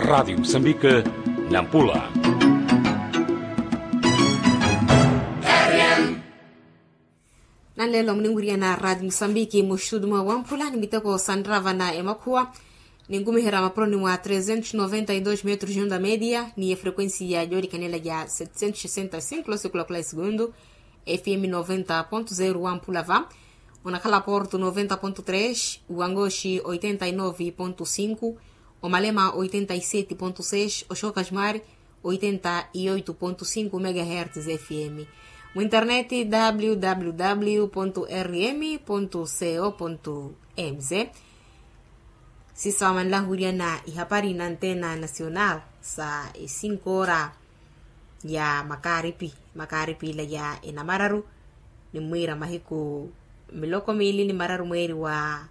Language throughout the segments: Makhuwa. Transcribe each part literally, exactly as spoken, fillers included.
Radiyo musambike, nampula. Nanleelo muninwiriyana radiyo musambike muxudu mwa wamphula ni miteko sanrava na emakhuwa. Ninkumiherya mapuroni mwa trezentos noventa y dos metros de onda media ni efrequencia ya joolikanela ya setecentos sessenta y cinco losikulakula esegundu. Fm noventa ponto zero wamphula va. Onakhala porto noventa ponto tres, wangoxi oitenta y nove ponto cinco, omalema oitenta y sete ponto seis, oxokajmari oitenta y oito ponto cinco megahertz fm. Mu internet, www rm co mz. Sisa wamanlahuryana ihapari na antena nacional sa esinko ora ya makaripi. Makaripi ila ya enamararu, nimwiira mahiku miloko miili ni mararu mweeri wa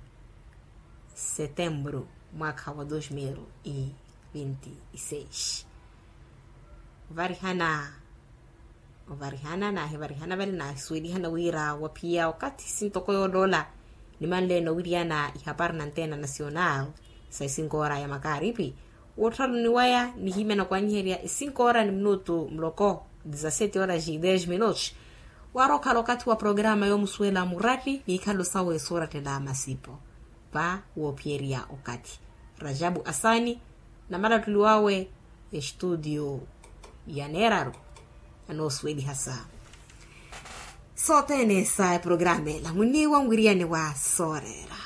setemburu, mwakha wa dos mil e vinti y seis. Varihana ovarihana nahivarihana vale nahisuwelihana wira waphiya okathi sintoko yooloola. Nimanleene owiriyana ihapari na antena nacional sa esinko ora ya makaripi. Wotthalo ni waya nihimya na kwanyiherya esinko ora ni minutu muloko, dezasete horas e dez minutos. Wari okhala okathi wa programa yoomusuwela muratti ni ikhalo sawe soorattela masipo va woophiyerya okathi. Rajabu asani na malattuli wawe estudio ya neeraru anoosuweliha sa sothene sa eprograma ela munniiwa nwiriyani wa sooreera.